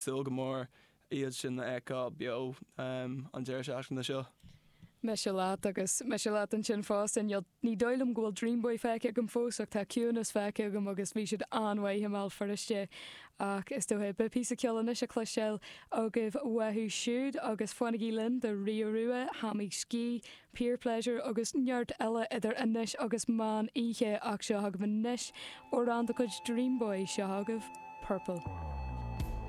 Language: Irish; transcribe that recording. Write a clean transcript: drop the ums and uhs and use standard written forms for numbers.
Súil go mór iad sin a fheiceáil beo an deireadh seachtaine seo. Mise leat agus mise leat ansin fosta. Níl, ní dóigh liom go bhfuil Dreamboy feicthe agam fós ach tá Ciúnas feicthe agam agus bhí siad an-mhaith i mBéal Feirste. Ach is dócha, beidh píosa ceoil anois le cloisteáil agaibh uathu siúd agus fanaigí linn do Rio Rua, Hammy Ski, Peer Pleasure agus neart eile idir anois agus meán oíche ach seo agaibh anois amhrán de chuid Dreamboy, seo agaibh Purple.